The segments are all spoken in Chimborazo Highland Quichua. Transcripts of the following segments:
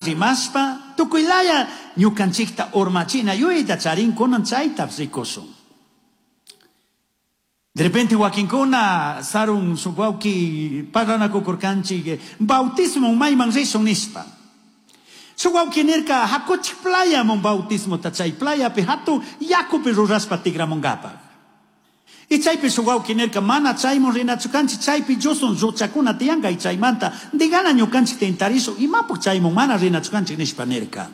Rimashpa tukuy laya ñukanchikta urmachina yuyayta charin kunan chayta rikushun. De repente wakinkuna sarun shuk wawki parlanakukurkanchik bautismo mayman rishun nishpa. Shuk wawki nirka hakuchik playaman bautismota chay playapi hatun yakupi rurashpa tikramunkapaq. Y chaypi shuk wawki nirka mana chayman rinachu kanchik chaypi Diosun lluchakuna tiyanka y chaymanta digana ñukanchik tentarishun imapuk chayman mana rinachu kanchik nishpa nirka.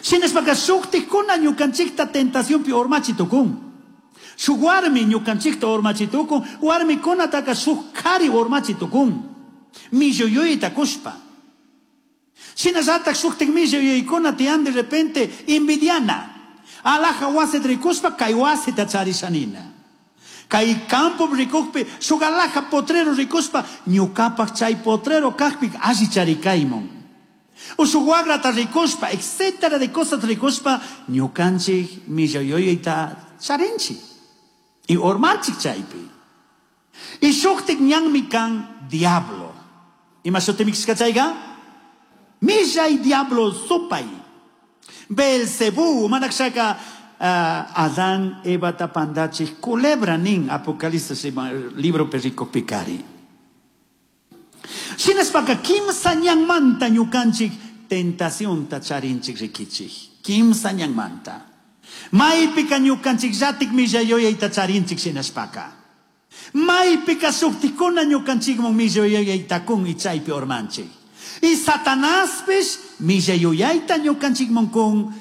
Shinashpaka shuktikuna ñukanchikta tentacionpi urmachi tukun. Shuk warmi ñukanchikta urmachi tukun, warmikunataka shuk kari urmachi tukun. Milluyuyta kushpa. Shinallatak shuktik milluyuykuna tiyan de repente envidiana. Alaja wasita rikushpa kay wasita charishanina. Kay campo rikukpi shuk alaja potrero rikushpa ñukapak chay potrero kakpi alli charikaymun. Ushuk wagrata rikushpa, etcétera de cosas rikushpa ñukanchik milluyuyta charinchik. Y urmanchik chaypi. Y shuktik ñanmi kan diablo. Ima shutimi chayka? Millay diablo supay. Belcebú, manakshaka Adán, Evata pandachik, culebra nin, Apocalipsis libro perrico picari. Shinashpaka kimsa ñanmanta ñukanchik tentacionta charinchik rikichik. Kimsa ñanmanta. Maypika ñukanchik llatik millayuyayta charinchik shinashpaka. Maypika shuktikuna ñukanchikman millayuyayta kun y chaypi urmanchik. Y Satanaspish millayuyayta ñukanchikman kun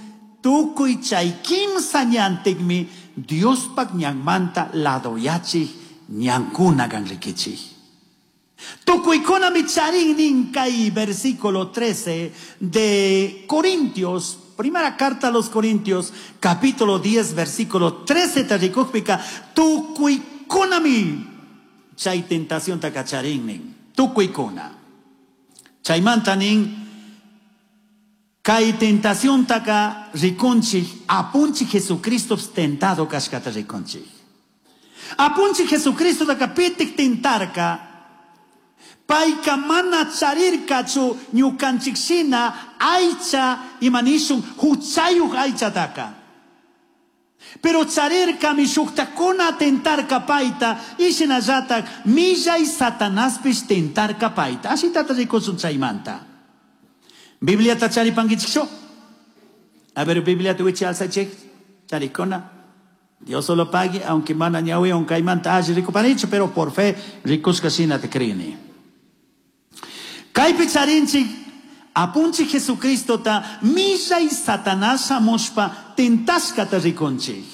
tukuy chay kimsa ñantikmi Diospak ñanmanta ladoyachik ñankuna kan rikichik. Tukuykunami charin nin kay versículo 13 de Corintios, primera carta a los Corintios, capítulo 10, versículo 13, tarikukpika, tukuykunami chay tentación takacharin nin, tukuykuna. Chaymanta nin, kay tentación taka rikunchik, apunchik Jesucristo tentado kashkata rikunchik. Apunchik Jesucristo taka pitik tentarka, payka mana charirkachu ñukanchik shina aycha imanishun huchayuq aychataka. Pero charirkami shuktakuna tentarka payta y shinallatak millay Satanaspish tentarka payta. Ashitata rikusun chaymanta. Bibliata charipankichikchu? A ver, Bibliata wichi alzachik, charikuna. Dios solo pague, aunque mana ñawi, caimanta alli rikupanichu, pero por fe rikushka shina te creeni. Kaypi charinchik, apunchik Jesucristo ta millay Satanás shamushpa tentashkata rikunchik.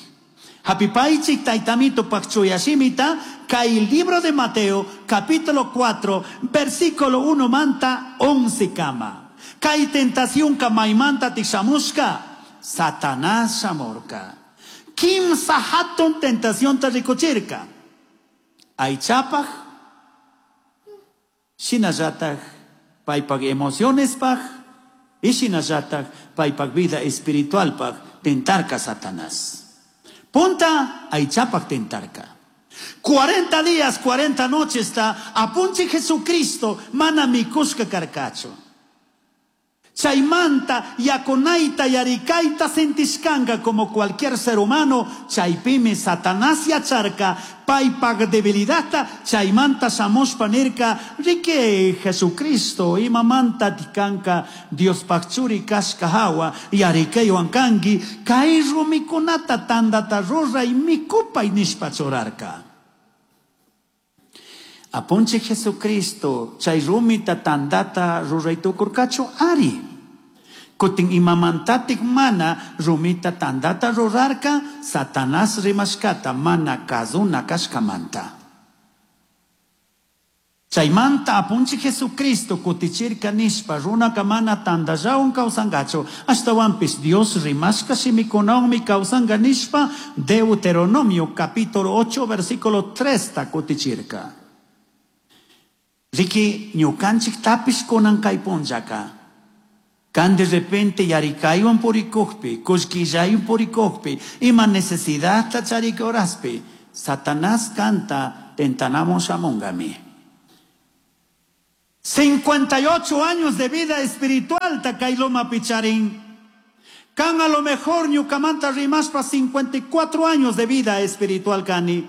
Hapipaychik taytamito pakchuyashimita, kay libro de Mateo, capítulo 4, versículo 1 manta 11 kama. Kay tentación kamaymanta tishamushka, Satanás shamurka. Kimsa hatun tentación ta rikuchirka. Aychapaj, shinallataj paypaj emocionespaj, y shinallataj paypaj vida espiritualpaj tentarka Satanás. Punta aychapaj tentarka. 40 días, 40 noches ta apunchi Jesucristo mana mikushka karkachu. Chaymanta yakunaita yarikayta sentishkanka como cualquier ser humano, chaypimi Satanás yacharka paypaj debilidadta, chaymanta shamushpa nirka, rike Jesucristo imamanta tikanka Diospaj churi kashka hawa yarikaywan kanki, kay rumikunata tandata ruray mikupay nishpa churarka. Apunchi Jesucristo chay rumita tandata ruray tukurkachu ari. Kutin imamantatik mana rumita tandata rurarka, Satanás rimashkata mana kazuna kashkamanta. Chaymanta apunchi Jesucristo kutichirka nishpa runaka mana tandallawan kawsankachu, ashtawanpish Dios rimashka shimikunawanmi kawsanka nishpa Deuteronomio capítulo 8 versículo 3 ta kutichirka. Riki ñukanchik tapish kunan kay punllaka. Kan de repente yarikaywan purikukpi, kullkillaywan purikukpi, ima necesidad ta charik horaspi, Satanás canta tentanamo shamungami. 58 años de vida espiritual ta kay lomapi charin. Kan a lo mejor ñukamanta rimashpa 54 años de vida espiritual kani.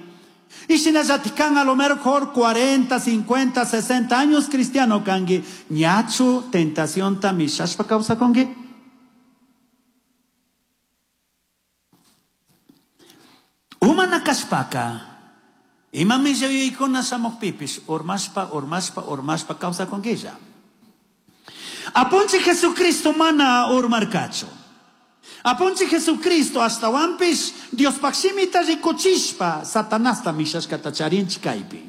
Y shinallatik kan a lo mejor 40, 50, 60 años cristiano kanki. Ñachu tentacionta mishashpa kawsakunki? Umana kashpaka, ima millayuykuna shamukpipish urmashpa, urmashpa, urmashpa kawsakunkilla. Apunchik Jesucristo mana urmarkachu. Apunchik Jesucristo ashtawanpish Diospaj shimita rikuchishpa Satanasta mishashkata charinchik kaypi.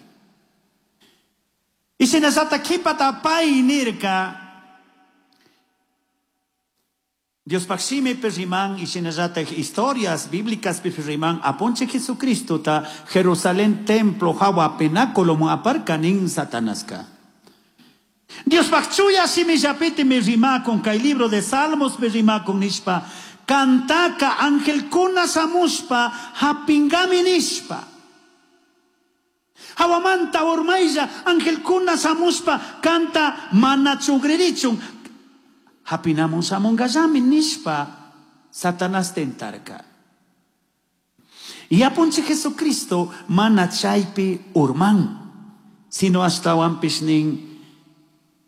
Y shinallata kipata pay nirka, Diospaj shimipi riman y shinallataj historias bíblicas pi riman Apunchik Jesucristo ta Jerusalén templo hawa penáculo mu aparka nin Satanaska. Diospaj chuya shimillapitimi rimakun kay libro de Salmos pi rimakun nishpa kantaka angelkuna shamushpa hapingami nishpa. Hawamanta urmaylla angelkuna shamushpa kanta mana chugririchun hapinamun shamungallami nishpa Satanás tentarka. Y Apunchik Jesucristo mana chaypi urman, sino ashtawanpish nin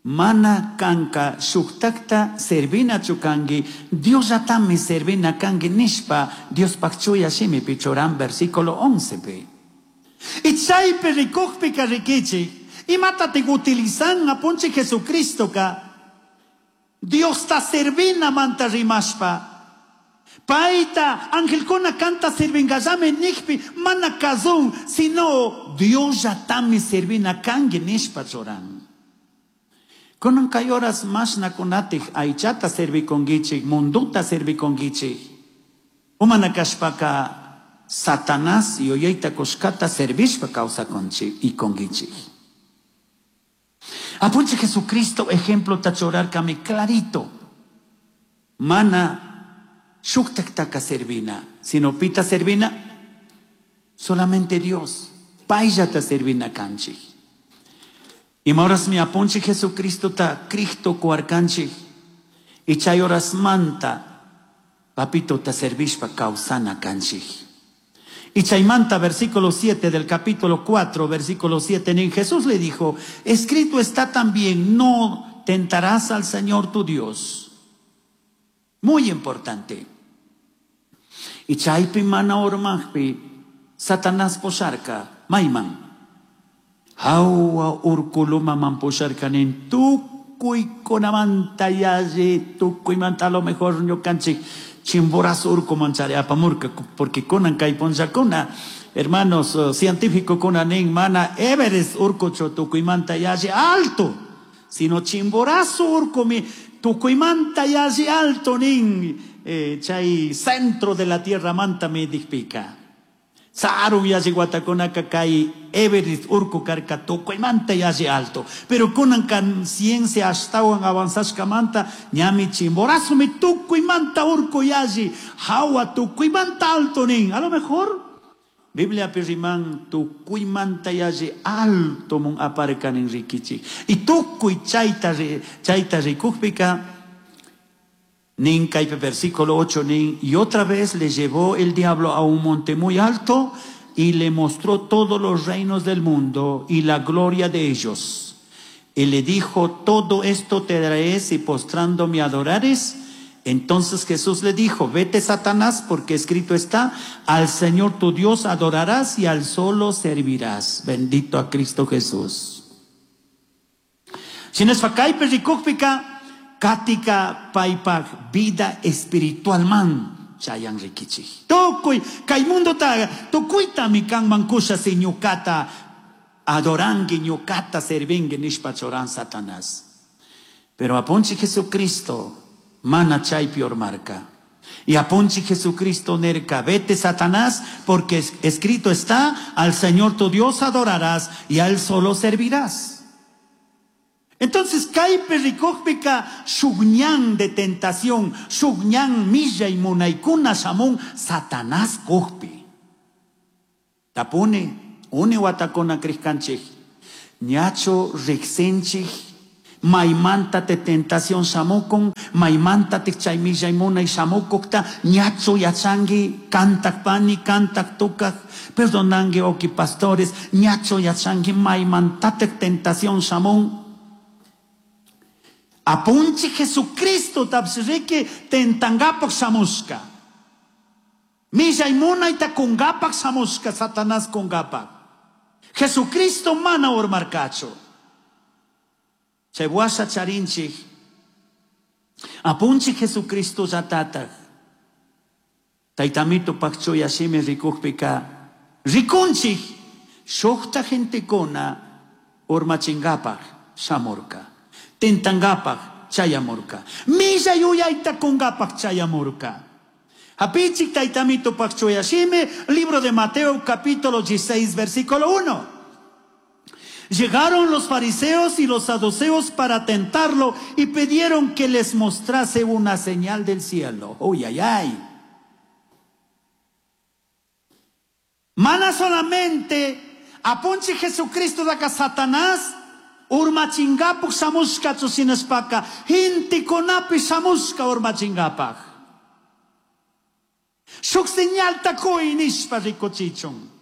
mana kanka shuktakta servinachu kanki, Diosllatami servina kanki nishpa Diospaj chuya shimipi churan versículo 11 pi. Y chaypi rikukpika rikichik, imatatik utilizan Apunchik Jesucristo ka Diosta servina manta rimashpa. Paita angelkuna kanta sirvingallami nikpi mana kazun, sino Diosllatami servina kanki nishpa churan. Kunan kay horas mashnakunatik aychata servikunkichik, munduta servikunkichik. Umana kashpaka Satanás yuyayta kushkata servishpa kawsakunchik y kunkichik. Apunchik Jesucristo ejemplo ta churarkami clarito. Mana shuktaktaka servina, sino pita servina solamente Dios. Payllata servina kanchik. Ima horas mi apunchik Jesucristo ta Cristo kuarkanchik. Y chay horas manta papito ta servishpa kawsana kanchik. Y chaymanta, versículo 7 del capítulo 4, versículo 7, en Jesús le dijo, escrito está también, no tentarás al Señor tu Dios. Muy importante. Y chaypi mana urmajpi, Satanás posharka, mayman. Hawa urkuluma man posharka nin tukuykunamanta yalli, tukuymanta a lo mejor ñukanchik Chimborazo urku manchari apamurka, porque kunan kay punllakuna, hermanos, científico kuna nin mana Everest urkuchu tukuymanta yalli alto, sino Chimborazo urku mi tukuymanta yalli alto nin, chay centro de la tierra manta mi dikpika. Sarun yalli watakunaka kay Everest urku karka tukuymanta yalli alto. Pero kunan kan ciencia ashtawan avanzashkamanta ñami Chimborazo mi tukuymanta urku yalli hawa tukuymanta alto nin. A lo mejor Biblia pirriman tukuymanta yalli alto mun aparkan nin rikichik. Y tukuy chayta rikukpika nin kaypi versículo 8 nin, y otra vez le llevó el diablo a un monte muy alto y le mostró todos los reinos del mundo y la gloria de ellos. Y le dijo, todo esto te daré si postrándome adorares. Entonces Jesús le dijo, vete Satanás, porque escrito está, al Señor tu Dios adorarás y al solo servirás. Bendito a Cristo Jesús. Shinashpa kaypi rikukpika, katika paypaj vida espiritual man chayan rikichik. Tukuy kay mundo ta tukuytami kanman kusha si ñukata adorangi ñukata servingi nishpa churan Satanás. Pero apunchik Jesucristo mana chaypi urmarka. Y apunchik Jesucristo nerka, vete Satanás, porque escrito está, al Señor tu Dios adorarás y a él solo servirás. Entonces, kaypi rikukpika shukñan de tentación, shukñan millay munaykuna shamun Satanás kukpi. Tapuni, uni watakuna kriskanchik, ñachu riksinchik, Maymanta te tentación shamukun, maymanta te chay millay munay shamukukta, ñachu yachangi, kantak pani, kantak tukak, perdonangi oki pastores, ñachu yachangi, maymanta te tentación shamun. Apunchi Jesucristo tapsiriki tentangapak shamushka. Millay munayta kungapak shamushka, Satanás kungapak. Jesucristo mana urmarkachu. Chay washa charinchik. Apunchi Jesucristo llatatak. Taytamito pakchuya shimi rikukpika rikunchik shukta gentekuna urmachingapak shamurka. Tentangapak chayamurka. Millay yuyayta kungapak chayamurka. Hapichik taytamito pakchuya shimi, libro de Mateo capítulo 16 versículo 1. Llegaron los fariseos y los saduceos para tentarlo y pidieron que les mostrase una señal del cielo. Uy, ay, ay. Mana solamente apunchi Jesucristo daka Satanás urmachingapuk shamushka shinashpaka gentekunapi shamushka urmachingapak. Shuk señalta kuy nishpa rikuchichun.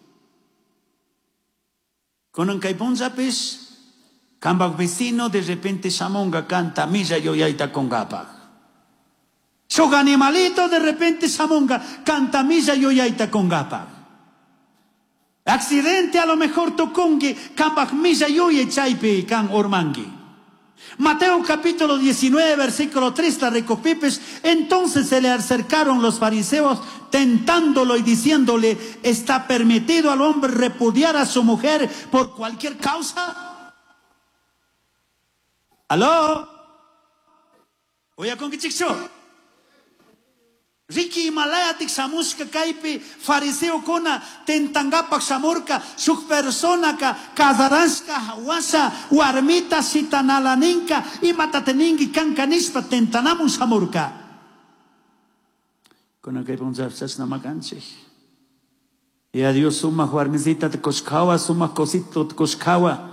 Kunan kay punllapish kambak vecino de repente shamunga kanta milla yuyayta kungapak. Shuk animalito de repente shamunga kanta milla yuyayta kungapak. Accidente a lo mejor tukungi kambak milla yuyay chaypi kan urmangi. Mateo capítulo 19, versículo 3, la recopipes. Entonces se le acercaron los fariseos tentándolo y diciéndole, ¿está permitido al hombre repudiar a su mujer por cualquier causa? ¿Aló? Oye, ¿con qué chico? Riki Himalayatik shamushka kaypi fariseokuna tentangapak shamurka shuk personaka casarashka washa warmita shitanalaninka imata teninki kanka nishpa tentanamun shamurka. Kunan kay punlla chashna makanchik. Y a Dios sumak warmisita tikushkawa, sumak cosito tikushkawa.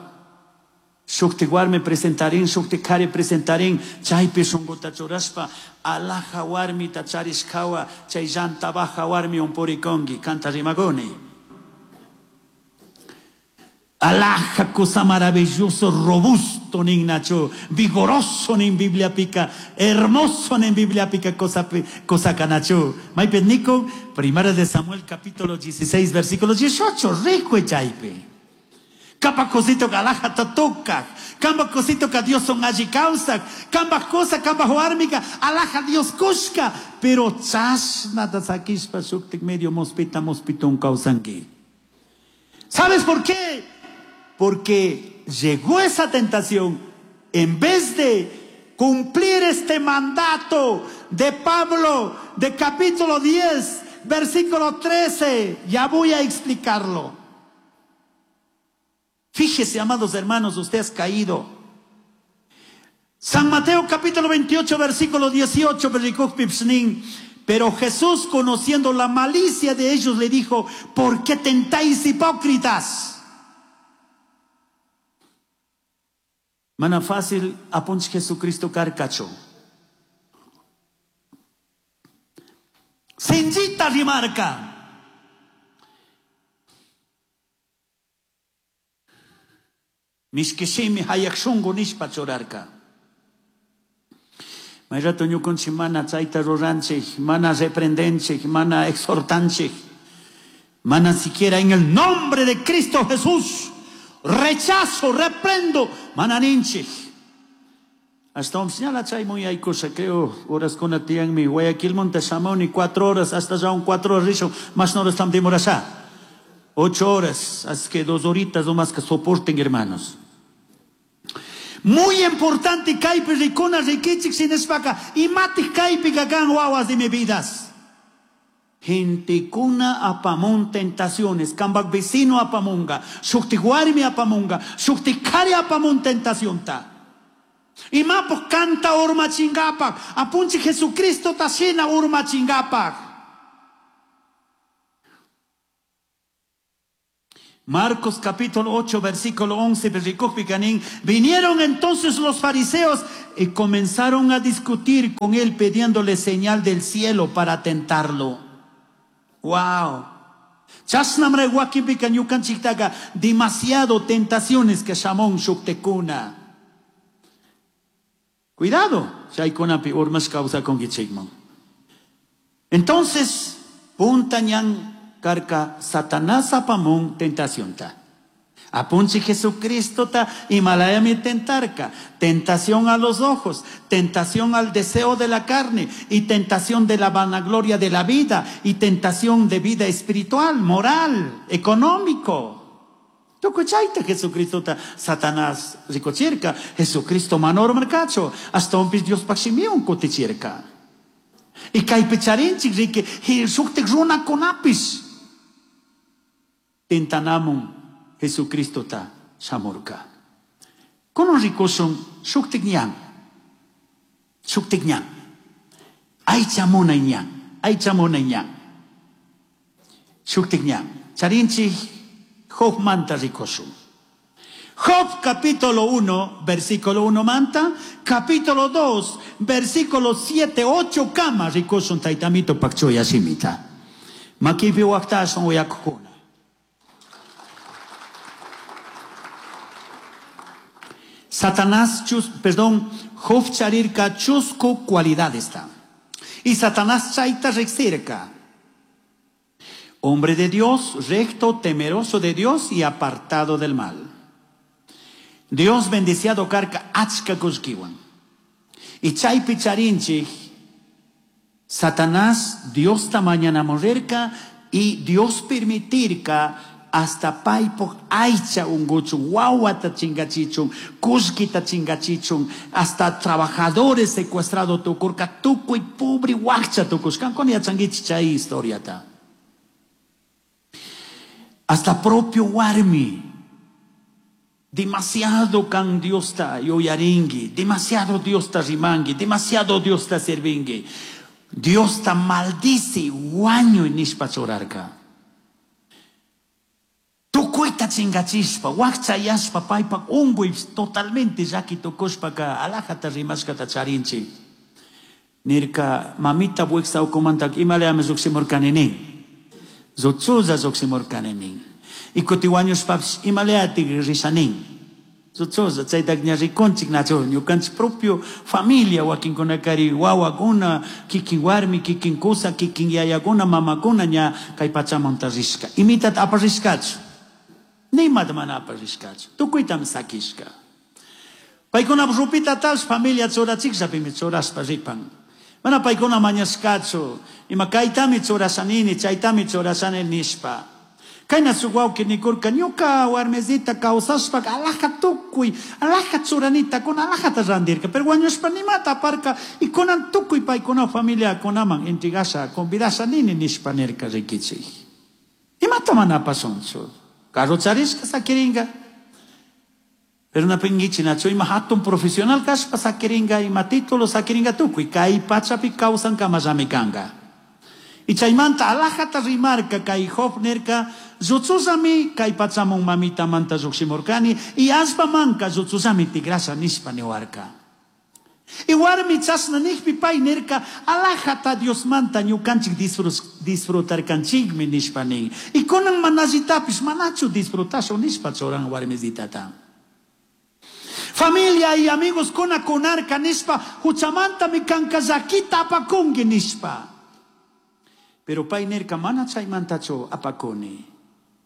Shukti warmi presentarin, shukti kari presentarin, chaypi shunguta churashpa, alaja warmita charishkawa, chay llanta baja warmi umpurikongi, kanta rimagoni. Alaja cosa maravilloso, robusto nin nacho, vigoroso nin Biblia pica, hermoso nin Biblia pica cosa, cosa canacho. Maype Nico, primera de Samuel capítulo 16, versículo 18, rico chaypi. Kamba cosito ka alaja tatuka, kamba cosito ka Dios son allí causa, kamba cosa, kamba huarmica, alaja Dios kushka, pero chashna tasakishpa shuktik medio mospita mospitun causangi. ¿Sabes por qué? Porque llegó esa tentación, en vez de cumplir este mandato de Pablo, de capítulo 10, versículo 13, ya voy a explicarlo. Fíjese, amados hermanos, usted ha caído. San Mateo capítulo 28, versículo 18, pero Jesús, conociendo la malicia de ellos, le dijo, ¿por qué tentáis, hipócritas? Mana fácil apunch Jesucristo carcacho. Sinjita rimarca. Mishkishimi hayak shungu nishpa churarka. Mayrato ñukunchik mana chayta ruranchik, mana reprendenchik, mana exhortanchik, mana siquiera en el nombre de Cristo Jesús rechazo, reprendo, mana ninchik. Hasta un señala chay muy hay cosa, creo, horas con mi Guayaquil Monte Samón y 4 horas, hasta ya un 4 horas, rizo, más no estamos demorando. 8 horas, así que 2 horitas o más que soporten, hermanos. Muy importante, kaypi rikuna rikichik sinishpaka, imatik kaypi kakan wawas de mi vidas. Gentekuna apamun tentaciones, kambak vecino apamunga, shukti warmi apamunga, shukti kari apamun tentacionta. Imapo canta urma chingapak, apunchi Jesucristo tashina urma chingapak. Marcos capítulo 8, versículo 11, vinieron entonces los fariseos y comenzaron a discutir con él pidiéndole señal del cielo para tentarlo. ¡Wow! Chashnamre wakinpika ñukanchiktaka demasiado tentaciones que shamun shuktikuna. Cuidado, chaykunapi urmashka kawsakunkichikman. Entonces, punta ñan karka Satanás apamun tentacionta. Apunchi Jesucristo ta imalayami tentarka. Tentación a los ojos, tentación al deseo de la carne y tentación de la vanagloria de la vida y tentación de vida espiritual, moral, económico. Tukuy chayta Jesucristo ta Satanás rikuchirka, Jesucristo mana urmarkachu, ashtawanpish Diospaj shimiwan kutichirka. Y kaypi charinchik riki, shuktik runakunapish tentanamun Jesucristo ta shamurka. Kunan rikushun shuktik ñan, shuktik ñan, aycha munay ñan, aycha munay ñan, shuktik ñan. Charinchik Job manta rikushun. Job capítulo 1, versículo 1 manta, capítulo 2, versículo 7, 8 kama rikushun taytamito pakchuya shimita. Makipi waktashun uyakukuna. Satanás, chus, perdón, Job charirka chusku cualidades ta. Y Satanás chayta riksirka. Hombre de Dios, recto, temeroso de Dios y apartado del mal. Dios bendiciado karka achka kullkiwan. Y chaypi charinchik, Satanás Dios ta mañanamurrirka y Dios permitirka hasta paypaj aycha unguchun, wawata chingachichun, kullkita chingachichun, hasta trabajadores secuestrado tukurka, tukuy pobre wakcha tukushkan, kankuna yachankichik chay historiata. Hasta propio warmi, demasiado kan Diosta yuyarinki, demasiado Diosta rimanki, demasiado Diosta servinki. Diosta maldice, wañuy nishpa churarka. Tukuyta chingachishpa, wakchayashpa, paypak unguy totalmente llaki tukushpaka alajata rimashkata charinchik. Nirka, mamita wiksa ukumanta imalayami llukshimurkani nin. Lluchulla llukshimurkani nin. Y kuti wañushpapish imalayatik risha nin. Lluchulla, chayta ña rikunchik nachu, ñukanchik propio familia wakinkunakari wawakuna, kikin warmi, kikin kusa, kikin yayakuna, mamakuna ña kay pachamanta rishka. Imitata aparishkachu. Nimata mana aparishkachu. Tukuytami sakishka. Paykuna rupita talsh familia churachikllapimi churashpa ripan. Mana paykuna mañashkachu. Ima kaytami churashanini, chaytami churashani nishpa. Kayna shuk wawki nikurka, ñuka warmisita kawsashpa alaja tukuy, alaja churanita kuna alajata randirka, pero wañushpa nimata aparka y kunan tukuy paykuna familia kunaman entregasha, convidasha nini nishpa nirka rikichik. Imata mana apasunchu. Carro charishka sakiringa. Pero na pingichi nachu ima hatun profesional kashpa sakiringa, ima título sakiringa tukuy, kay pachapi kawsan kamallami kanga. Y chaymanta alajata rimarka kay Job nirka, lluchusami kay pachamun mamita manta llukshimurkani, y allpa manka lluchusami tigrasha nishpa niwarka. Y warmi chashna nijpi pay nirka, alajata Diosmanta ñukanchik disfrutarkanchikmi nishpa nin. Y kunan manallitapish manachu disfrutashun nishpa churan warmisitata. Familia y amigos kuna kunarka nishpa, huchamantami kanka llakita apakunki nishpa. Pero pay nirka mana chaymantachu apakuni.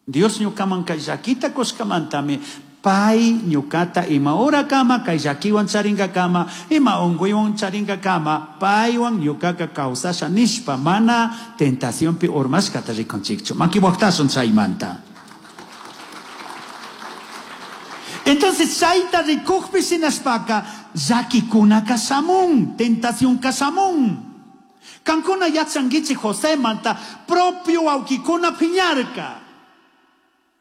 Dios ñukaman kay llakita kushkamantami, pay ñukata ima hora kama, kay llakiwan charinkakama, ima unkuywan charinkakama, paywan ñukaka kawsasha nishpa, mana tentacionpi urmashkata rikunchikchu. Maki waqtashun chaymanta. Entonces chayta rikukpi shinashpaka, llakikunaka shamun, tentacionka shamun. Kankuna yachankichik José manta propio wawkikuna piñarka.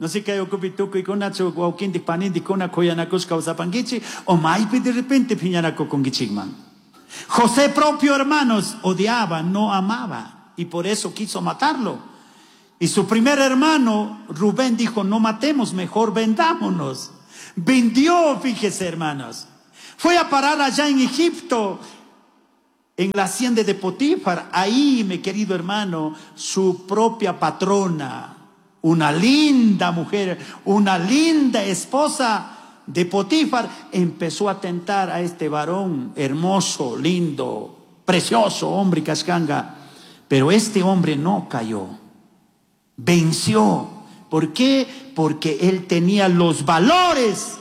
No sé qué ocupi tukuy-kunachu wawkintik panintik kuna kuyanakushka kawsapankichik o maypi de repente piñanakukunkichikman. José propio hermanos odiaba, no amaba y por eso quiso matarlo. Y su primer hermano, Rubén, dijo, no matemos, mejor vendámonos. Vendió, fíjese, hermanos. Fue a parar allá en Egipto, en la hacienda de Potifar. Ahí, mi querido hermano, su propia patrona, una linda mujer, una linda esposa de Potifar, empezó a tentar a este varón hermoso, lindo, precioso hombre cascanga. Pero este hombre no cayó, venció. ¿Por qué? Porque él tenía los valores,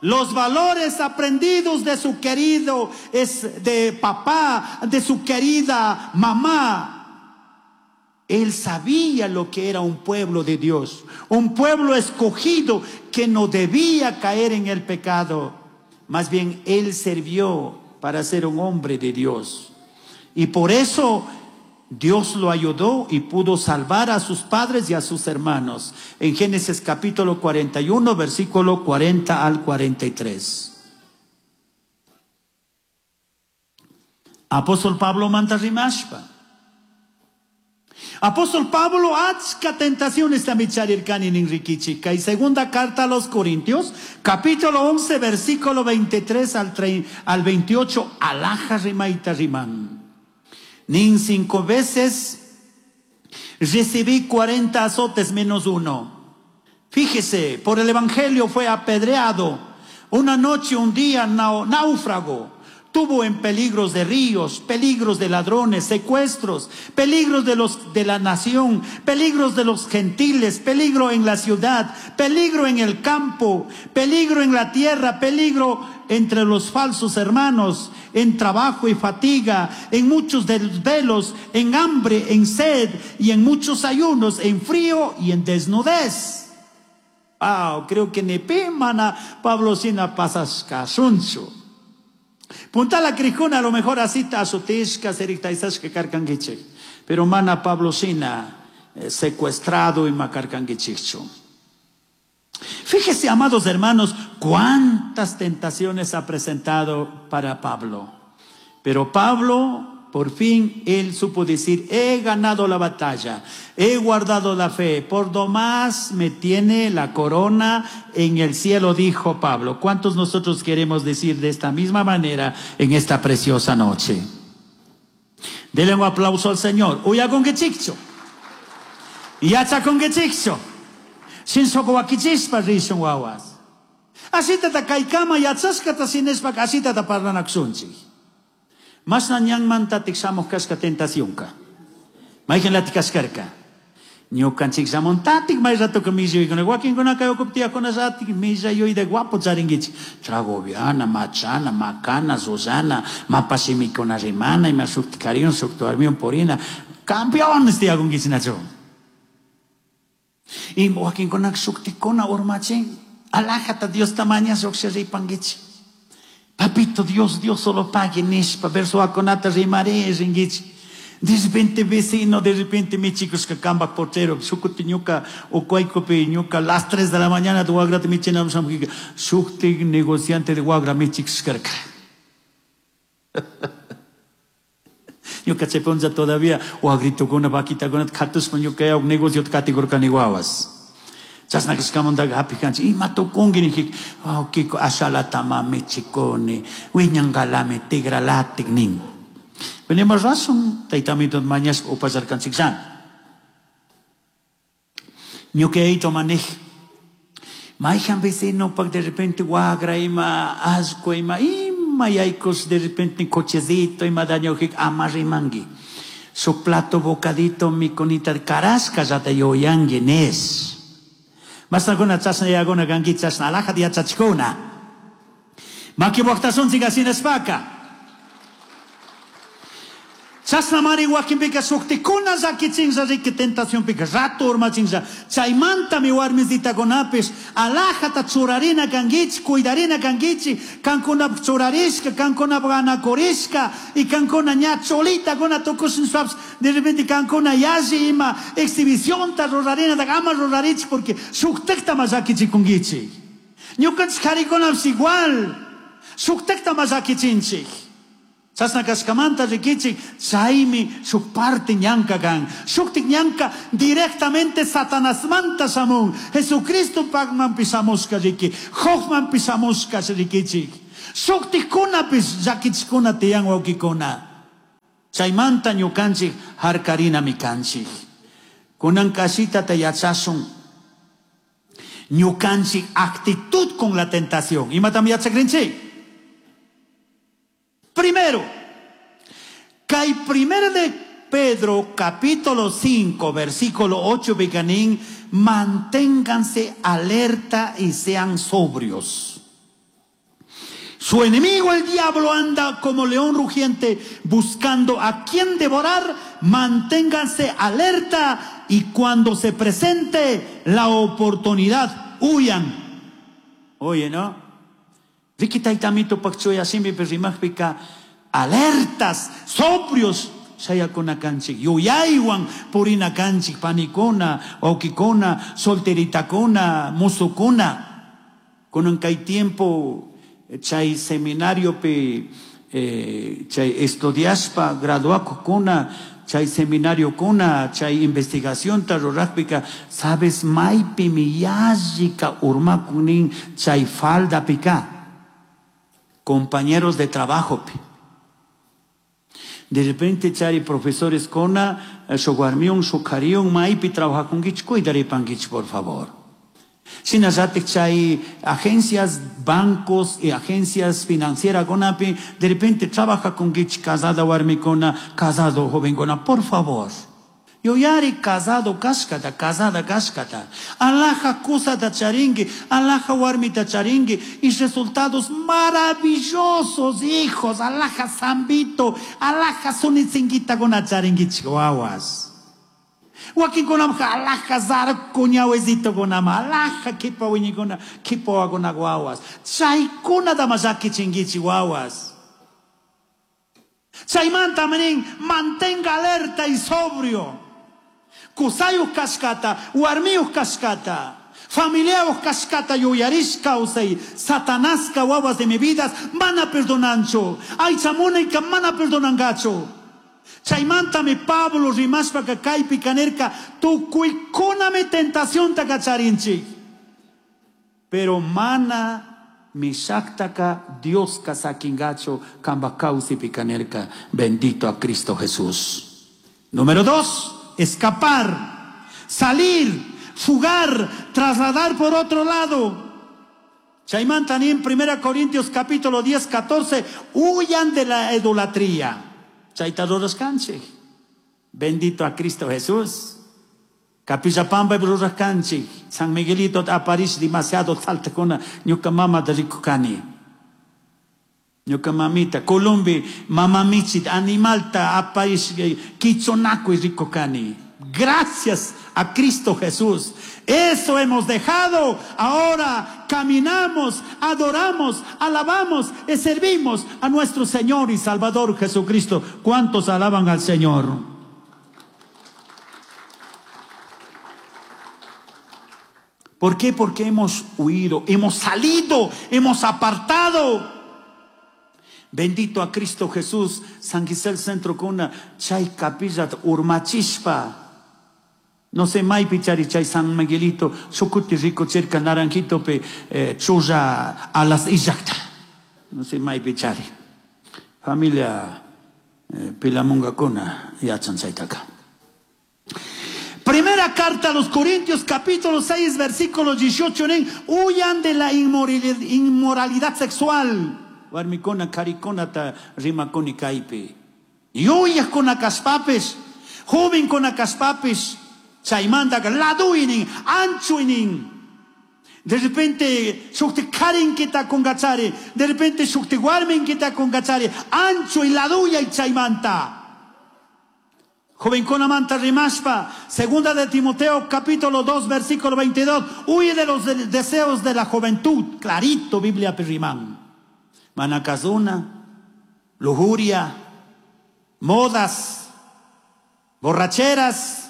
los valores aprendidos de su querido, es de papá, de su querida mamá. Él sabía lo que era un pueblo de Dios, un pueblo escogido que no debía caer en el pecado. Más bien, él sirvió para ser un hombre de Dios. Y por eso Dios lo ayudó y pudo salvar a sus padres y a sus hermanos. En Génesis capítulo 41, versículo 40 al 43. Apóstol Pablo manda rimashpa. Apóstol Pablo achka tentaciones también charirkani nin rikichika. Y segunda carta a los Corintios, capítulo 11, versículo 23 al 28, alaja rimaita riman. Nin 5 veces recibí 40 azotes menos uno. Fíjese, por el evangelio fue apedreado. Una noche, un día, náufrago. Tuvo en peligros de ríos, peligros de ladrones, secuestros, peligros de los de la nación, peligros de los gentiles, peligro en la ciudad, peligro en el campo, peligro en la tierra, peligro entre los falsos hermanos, en trabajo y fatiga, en muchos desvelos, en hambre, en sed y en muchos ayunos, en frío y en desnudez. Ah, creo que ni pimana Pablo sina pasas casuncho. Punta la crijuna, a lo mejor así azotisca, serictaisasca carcanguiche. Pero mana Pablo sina secuestrado y macarcanguichicho. Fíjese, amados hermanos, cuántas tentaciones ha presentado para Pablo. Pero Pablo, por fin, él supo decir, he ganado la batalla, he guardado la fe, por lo más me tiene la corona en el cielo, dijo Pablo. ¿Cuántos nosotros queremos decir de esta misma manera en esta preciosa noche? Denle un aplauso al Señor. Uya con quechicho. Yacha con quechicho. Sin socoaquichispa rishun wawas. Así tata kaikama yachaskata sinespa así tata parlanaksunchi. Mas ñanmanta tikshamuj kashka tentacionka. Mayqin latikashkarka. Ñukanchik shamuntatik may ratoka millayuykuna. Wakinkunaka ukuptiyakuna ratik millayuyta guapo charinkichik. Tragoviana, machana, macana, Susana, mapashimikuna rimana, ima shukti kariun, shukti warmiun purina. Campeones tiyakunkichinachu. Y wakinkunaka shuktikuna urmachin. Alajata Dios tamaña shukshi ripankichik. Papito, Dios, Dios solo pague nishpa, verso aconata rimare, ringichi. De repente vecino, de repente mi chicos que camba portero, shukuti ñuka, ocuaycopi ñuka, las 3 de la mañana tu guagra mi chena, shukti negociante de guagra mi chicos carca. Ñuka cheponza todavía, guagrito con una vaquita con katus ñuka ya negocio categórico ni guaguas. Chasna kashkamantaqa hapikanchik ima tukunki nijik wawqiyku ashalatama michikuni wiñanqalami tigralatik nin. Pero ima razón taytamito mañaspa upallarkanchikllana. Ñuqayto manej mayhan vecinopak de repente wagra ima allqu ima ima yaykus de repente cochecito ima dañojik ama rimanki. Su plato bocadito mikunita karashkallata yuyanki nes. Masnakuna chashna yaguna kanki chashna alajata yachachikuna. Maki waqtasunchik asinaspaka. Chashna mari wakinpika shuktikuna llakichinlla riki tentacionpika rato urmachinlla. Chaymantami warmisitakunapish alajata churarina kankichik, cuidarina kankichik, kankunapaq churarishka, kankunapaq anakurishka, y kankuna ña cholitakuna tukushinshpapish de repente kankuna yalli ima exhibicionta rurarina ama rurarichik porque shuktikta ma llakichikunkichik. Ñukanchik karikunapish igual, shuktikta ma llakichinchik. Chashna kashkamanta rikichik, chaymi shuk parte ñanka kan. Shuktik ñanka directamente Satanasmanta shamun. Jesucristo pagmanpi shamushka riki, Jobmanpi shamushka rikichik. Shuktikkunapis llakichikuna tiyan wawkikuna. Chaymanta ñukanchik harkarinami kanchik. Kunan kashitata yachashun. Ñukanchik actitud con la tentación. Imatam yachakrinchik? Primero, kay primero de Pedro capítulo 5 versículo 8 beganín, manténganse alerta y sean sobrios. Su enemigo el diablo anda como león rugiente buscando a quien devorar. Manténganse alerta y cuando se presente la oportunidad, huyan. Oye, ¿no? Riki taytamito pakchuya shimipi rimajpika alertas, sobrios shayakuna kanchik, yuyaywan purina kanchik, panikuna, wawkikuna, solteritakuna, musukuna. Kunan kay tiempo chay seminariopi chay estudiashpa graduakukuna, chay seminariokuna, chay investigacionta rurajpika, sabes maypimi yallika urmakunin chay faldapika. Compañeros de trabajo. De repente chari profesores kona, shuk warmiun, shuk kariun, maypi trabajakunkichik, cuidaripankichik, por favor. Shinallatik chay agencias, bancos y agencias financieras kunapi, de repente trabajakunkichik casada warmikuna, casado jovenkuna, por favor. Yuyari casado kashkata, casada kashkata. Alhaja kusata charinki, alhaja warmita charinki, y resultados maravillosos, hijos, alhaja zambito, alhaja sunitzinguitakuna charinkichik wawas. Wakinkunamqa alhaja zarco ñawesitokunama, alhaja kipa wiñikuna, kipa wawakuna wawas. Chaykunata ama llakichinkichik wawas. Chaymanta nin, mantenga alerta y sobrio. Kusayuq kashkata, warmiyuq kashkata, familiayuq kashkata yuyarish kawsay, Satanaska wawas de mi vida mana perdonanchu, aycha munayka mana perdonangachu. Chaymantami Pablo rimashpaka kaypi kanirka, tukuykunami tentacionta kacharinchik. Pero mana mishaktaka Dioska sakingachu kanpak kawsaypi kanirka. Bendito a Cristo Jesús. Número 2, escapar, salir, fugar, trasladar por otro lado. Chaymanta nin 1 Corintios capítulo 10, 14, huyan de la idolatría. Chayta rurashkanchik. Bendito a Cristo Jesús. Capilla Pamba rurashkanchik. San Miguelito aparece demasiado saltakuna. Ñuka mamata rikukani. Ñuka mamita, Columbi, mama michit, animalta aparece kichonaku rikukani. Gracias a Cristo Jesús. Eso hemos dejado. Ahora caminamos, adoramos, alabamos y servimos a nuestro Señor y Salvador Jesucristo. ¿Cuántos alaban al Señor? ¿Por qué? Porque hemos huido, hemos salido, hemos apartado. Bendito a Cristo Jesús. San Gisel Centro kuna chay capilla urmachishpa. No sé, maypi chari chay San Miguelito, sukuti rico cerca naranjito pe chulla a las illakta. No sé, maypi chari. Familia Pilamunga kuna yachan chaytaka. Primera carta a los Corintios, capítulo 6, versículo 18, nin, huyan de la inmoralidad sexual. Warmikuna, karikuna ta rimakuni kaypi. Yuyakuna kaspapis, jovenkuna kaspapis, chaymanta laduinin, anchuinin. De repente shukti karinkita kunkachari, de repente shukti warminkita kunkachari, ancho y laduya y chaymanta. Jovenkuna manta rimashpa, segunda de Timoteo capítulo 2 versículo 22, huye de los deseos de la juventud, clarito Biblia perrimán. Manacazuna, lujuria, modas, borracheras,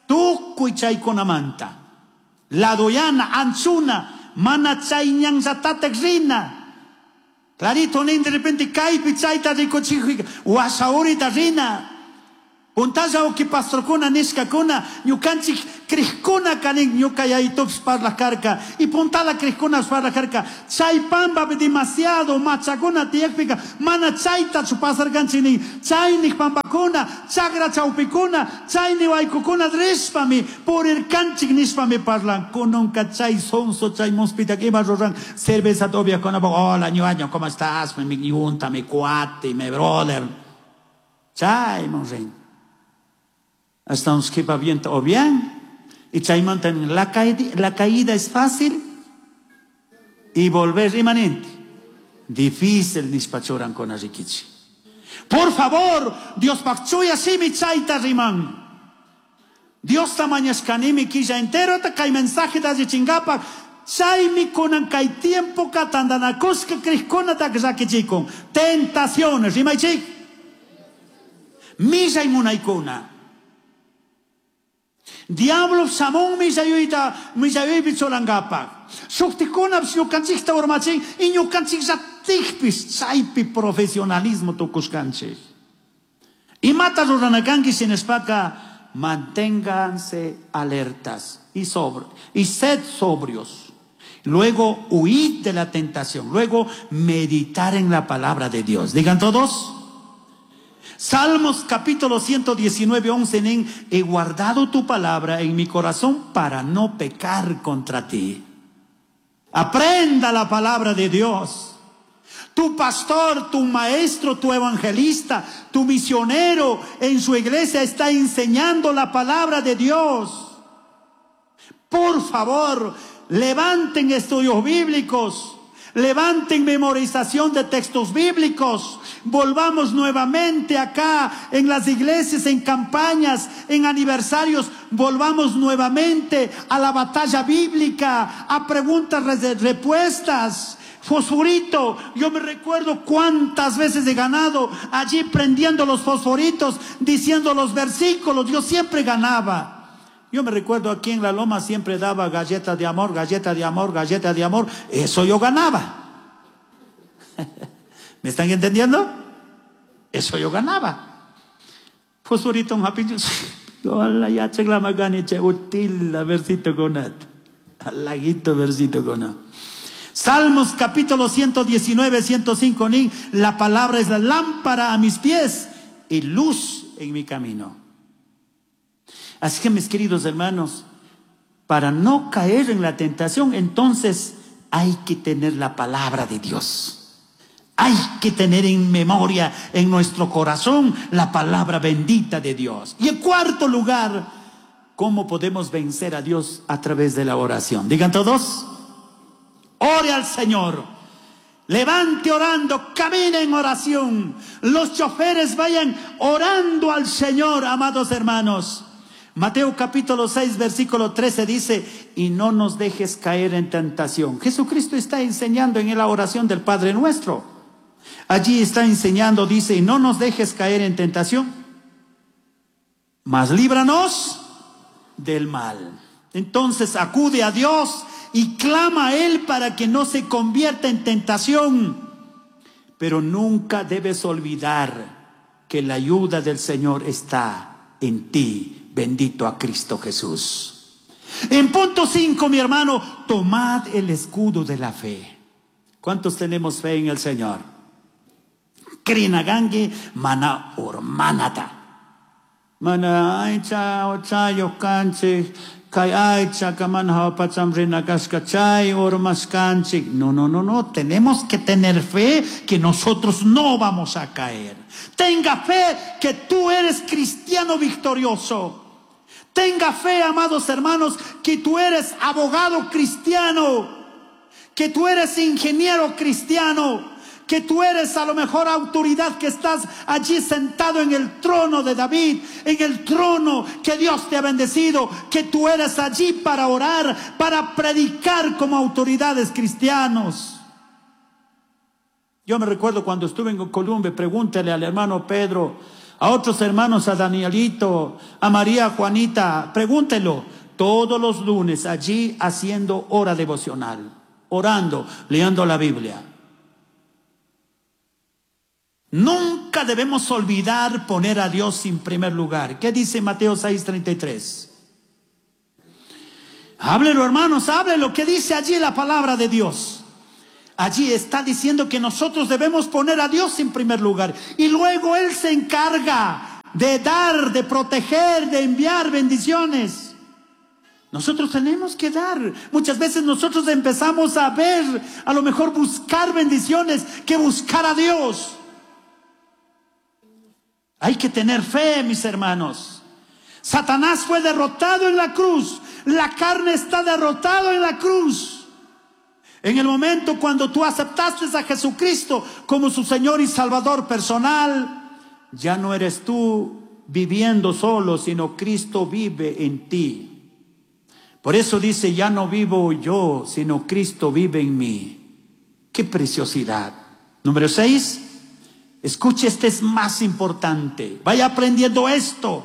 tukuy chaykuna manta. Ladoyana, anchuna, mana chay ñanllatataj rina. Clarito nin de repente kaypi chayta rikuchik washaurita rina. Puntalla uki pastorkuna nishkakuna ñukanchik crikuna kanin ñuka yayitupis parlaj karka y puntala crikkunapish parlaj karka chay pampapi demasiado machakuna tiyakpika mana chaytachu pasarkanchik nin chaynik pampakuna chagra chawpikuna chayni waykukuna rishpami purirkanchik nishpami parlan. Kununka chay sonso chay muspitaka ima ruran cervezata upiakkunapuk hola ñuaño, ¿cómo estás? Mi yunta, mi cuate, mi brother. Chayman rin. Hasta un skipa viento o bien. Y chaymanta la caída es fácil y volver imanente. Difícil nishpa churan con rikichi. Por favor, Dios pakchuya simi chayta riman. Dios tamañashkanimi quilla entero ta kay mensaje da chingapa. Chaymi kunan kay tiempo ka tandanakushka krikuna ta rakichikun. Tentaciones, rimaychik. Millay munaykuna. Diablo samón millayuyta millayuypi churankapaq. Shuktikunapis ñukanchikta urmachin y ñukanchik llatikpis chaypi profesionalismo tukushkanchik. Imata ruranakanki shinashpaka manténganse alertas y sobre, y sed sobrios. Luego huid de la tentación. Luego meditar en la palabra de Dios. Digan todos. Salmos capítulo 119, 11, en, he guardado tu palabra en mi corazón para no pecar contra ti. Aprenda la palabra de Dios. Tu pastor, tu maestro, tu evangelista, tu misionero en su iglesia está enseñando la palabra de Dios. Por favor, levanten estudios bíblicos. Levanten memorización de textos bíblicos. Volvamos nuevamente acá en las iglesias, en campañas, en aniversarios. Volvamos nuevamente a la batalla bíblica, a preguntas, respuestas. Fosforito, yo me recuerdo cuántas veces he ganado allí prendiendo los fosforitos, diciendo los versículos. Yo siempre ganaba. Yo me recuerdo aquí en la loma siempre daba galleta de amor, galleta de amor, galleta de amor. Eso yo ganaba. ¿Me están entendiendo? Eso yo ganaba. Fosforito un happy. Hola, ya chegla magani che util la versito conat. Laguito versito conat. Salmos capítulo 119, 105, nin, la palabra es la lámpara a mis pies y luz en mi camino. Así que mis queridos hermanos, para no caer en la tentación, entonces hay que tener la palabra de Dios. Hay que tener en memoria, en nuestro corazón, la palabra bendita de Dios. Y en cuarto lugar, ¿cómo podemos vencer a Dios? A través de la oración. Digan todos, ore al Señor. Levante orando, camine en oración. Los choferes vayan orando al Señor, amados hermanos. Mateo capítulo 6, versículo 13 dice, y no nos dejes caer en tentación. Jesucristo está enseñando en la oración del Padre Nuestro. Allí está enseñando, dice, y no nos dejes caer en tentación, mas líbranos del mal. Entonces acude a Dios y clama a Él para que no se convierta en tentación. Pero nunca debes olvidar que la ayuda del Señor está en ti. Bendito a Cristo Jesús. En punto 5, mi hermano, tomad el escudo de la fe. ¿Cuántos tenemos fe en el Señor? Krinagangi mana urmanata. Mana aicha ochayo kanchik, kay aicha kaman pacham rinakashka chay urmaskanchik. No, no, no, no. Tenemos que tener fe que nosotros no vamos a caer. Tenga fe que tú eres cristiano victorioso. Tenga fe, amados hermanos, que tú eres abogado cristiano, que tú eres ingeniero cristiano, que tú eres a lo mejor autoridad que estás allí sentado en el trono de David, en el trono que Dios te ha bendecido, que tú eres allí para orar, para predicar como autoridades cristianos. Yo me recuerdo cuando estuve en Colombia, pregúntale al hermano Pedro, a otros hermanos, a Danielito, a María Juanita, pregúntelo, todos los lunes allí haciendo hora devocional, orando, leyendo la Biblia. Nunca debemos olvidar poner a Dios en primer lugar. ¿Qué dice Mateo 6:33? Háblelo, hermanos, háblelo. ¿Qué dice allí la palabra de Dios? Allí está diciendo que nosotros debemos poner a Dios en primer lugar. Y luego Él se encarga de dar, de proteger, de enviar bendiciones. Nosotros tenemos que dar. Muchas veces nosotros empezamos a ver, a lo mejor buscar bendiciones que buscar a Dios. Hay que tener fe, mis hermanos. Satanás fue derrotado en la cruz. La carne está derrotada en la cruz. En el momento cuando tú aceptaste a Jesucristo como su Señor y Salvador personal, ya no eres tú viviendo solo, sino Cristo vive en ti. Por eso dice, ya no vivo yo, sino Cristo vive en mí. ¡Qué preciosidad! Número 6. Escuche, este es más importante. Vaya aprendiendo esto.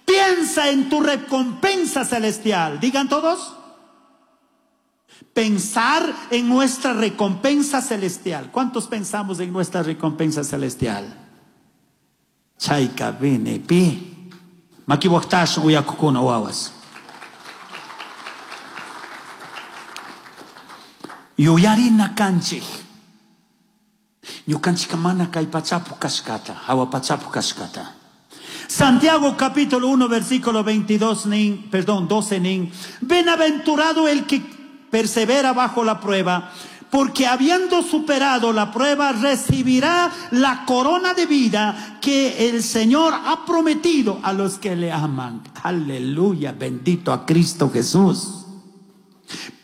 Piensa en tu recompensa celestial. Digan todos. Pensar en nuestra recompensa celestial. ¿Cuántos pensamos en nuestra recompensa celestial? Chayka bene pi. Makiwaktash uyakukuna wawas. Yuyarina kanchik. Ñukanchika mana kay pachapu kashkata, hawa pachapu kashkata. Santiago capítulo 1 versículo 22 nin, perdón, 12 nin. Bienaventurado el que persevera bajo la prueba, porque habiendo superado la prueba recibirá la corona de vida que el Señor ha prometido a los que le aman. Aleluya, bendito a Cristo Jesús.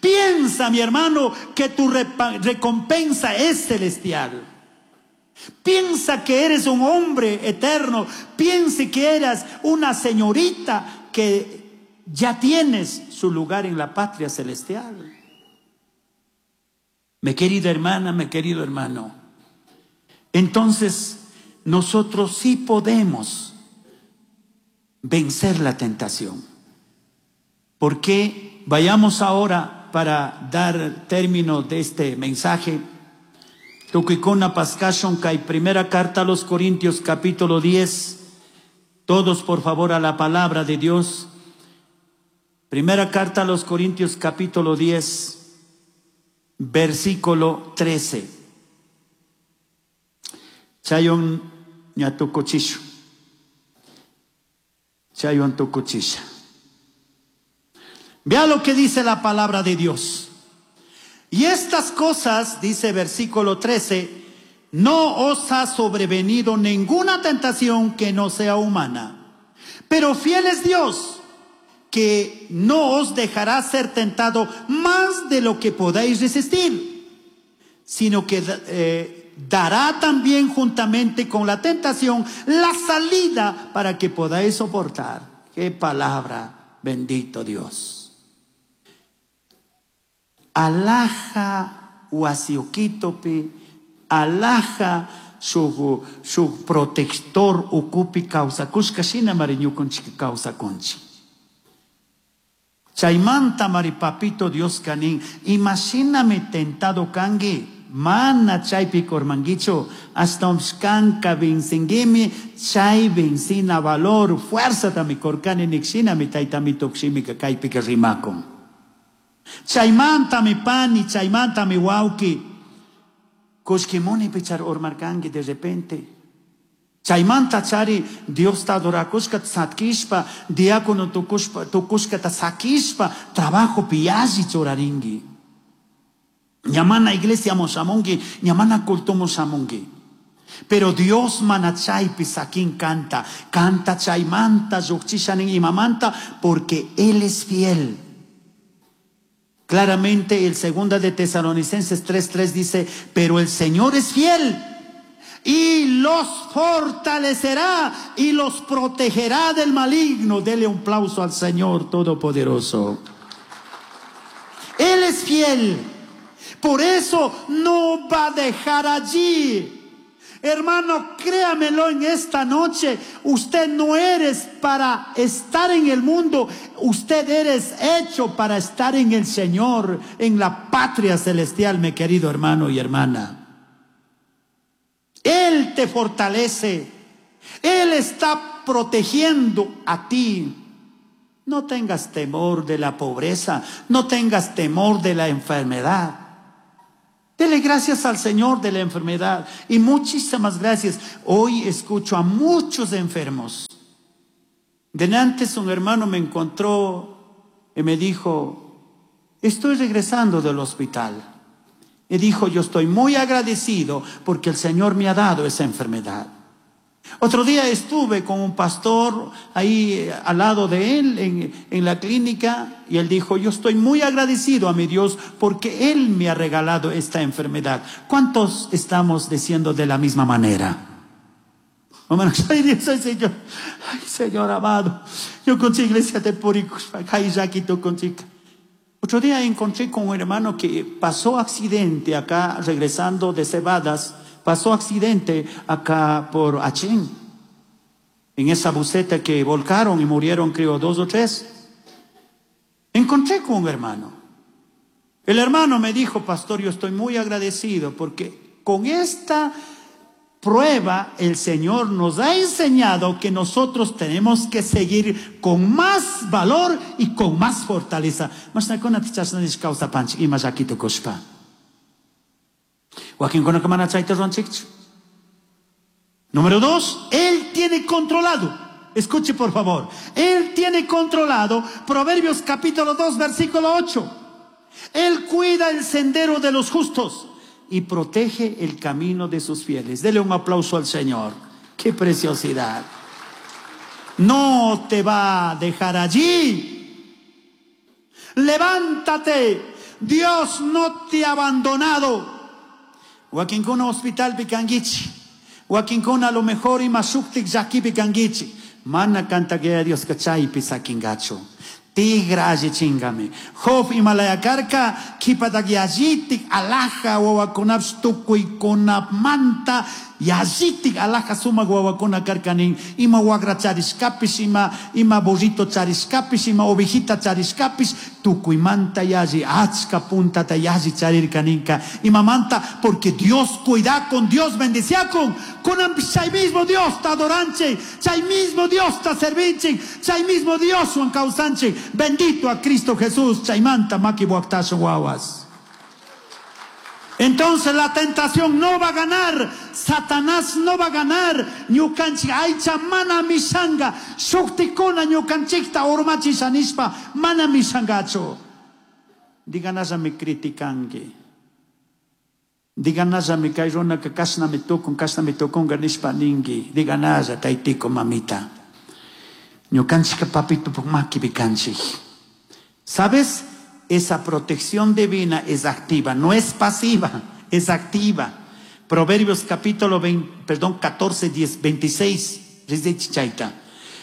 Piensa, mi hermano, que tu recompensa es celestial. Piensa que eres un hombre eterno. Piensa que eres una señorita que ya tienes su lugar en la patria celestial. Mi querida hermana, mi querido hermano. Entonces, nosotros sí podemos vencer la tentación. Porque vayamos ahora para dar término de este mensaje. Tukuykuna paskashun kay primera carta a los Corintios capítulo 10. Todos por favor a la palabra de Dios. Primera carta a los Corintios capítulo 10, versículo 13. Chayon ñatukuchishu. Chayon tukuchisha. Vea lo que dice la palabra de Dios. Y estas cosas, dice versículo 13, no os ha sobrevenido ninguna tentación que no sea humana. Pero fiel es Dios, que no os dejará ser tentado más de lo que podáis resistir, sino que dará también juntamente con la tentación la salida para que podáis soportar. ¡Qué palabra! Bendito Dios. Alaja wasiukitopi, alaja su protector ukupi kawsakushka shina mari ñukanchik kawsakunchik. Chaymanta mari papito Dios kanin, imashinami tentado kanki, mana chaypi kormankichu, ashtawanpish kanka vencinguimi, chay vencina valor, fuerzatami korkani nikshinami taytami tukshimika kaypika rimakun. Chaymanta mi pani, chaymanta mi wawki. Kushkimuni pichar urmarkanki de repente. Chaymanta chari Diosta adorakushka satkishpa, diácono tukushkata sakishpa, trabajo piyashi churarinki. Ñamana iglesia shamunki, ñamana culto shamunki. Pero Dios mana chaypi sakin canta, canta chaymanta, lluqchishanin imamanta, porque Él es fiel. Claramente el segunda de Tesalonicenses 3:3 dice, pero el Señor es fiel y los fortalecerá y los protegerá del maligno. Dele un aplauso al Señor Todopoderoso. Él es fiel, por eso no va a dejar allí. Hermano, créamelo en esta noche, usted no eres para estar en el mundo, usted eres hecho para estar en el Señor, en la patria celestial, mi querido hermano y hermana. Él te fortalece. Él está protegiendo a ti. No tengas temor de la pobreza, no tengas temor de la enfermedad. Dele gracias al Señor de la enfermedad y muchísimas gracias. Hoy escucho a muchos enfermos. De antes un hermano me encontró y me dijo, estoy regresando del hospital. Y dijo, yo estoy muy agradecido porque el Señor me ha dado esa enfermedad. Otro día estuve con un pastor ahí al lado de él en la clínica y él dijo, yo estoy muy agradecido a mi Dios porque Él me ha regalado esta enfermedad. ¿Cuántos estamos diciendo de la misma manera? Ay, Dios, ay, Señor, ay, Señor amado, yo con iglesia te Otro día encontré con un hermano que pasó accidente acá regresando de Cebadas. Pasó accidente acá por Achén, en esa buseta que volcaron y murieron, creo, 2 o 3. Encontré con un hermano. El hermano me dijo, pastor, yo estoy muy agradecido porque con esta prueba el Señor nos ha enseñado que nosotros tenemos que seguir con más valor y con más fortaleza. Número 2, Él tiene controlado. Escuche por favor. Él tiene controlado. Proverbios capítulo 2, versículo 8. Él cuida el sendero de los justos y protege el camino de sus fieles. Dele un aplauso al Señor. ¡Qué preciosidad! No te va a dejar allí. Levántate. Dios no te ha abandonado. Wakinkuna hospital pikanguichi. Wakinkuna a lo mejor imashuktik llaki pikanguichi. Mana canta que Dios kachay pisakingacho. Tigra alli chingame. Job imalayakarka kipatak yallitik alaja wawakunapsh tukuykunap manta yallitik alaja sumak wawakuna karkanin. Ima wagra charishkapish, ima burrito charishkapish, ima ovejita charishkapish, tukuymanta yalli, achka puntata yalli charirkaninka. Ima manta, porque Dios cuida con, Dios bendecía con. Kunanpish chay mismo Dios ta adoranche, chay mismo Dios ta servinche, chay mismo Dios wan kawsanche. Bendito a Cristo Jesús, chaymanta maki buaktasho wawas. Entonces la tentación no va a ganar, Satanás no va a ganar. Ñukanchik aycha mana mishanga, shuktikuna ñukanchikta urmachisha nishpa mana mishangachu. Diganalla me criticanki. Diganalla me kay runaka kashnami tukun, kashnami tukunga nishpa ninki. Diganalla taytiko mamita. Ñukanchika papito makipi kanchik. ¿Sabes? Esa protección divina es activa, no es pasiva, es activa. Proverbios capítulo perdón, 14, 10, 26, dice Chichaita.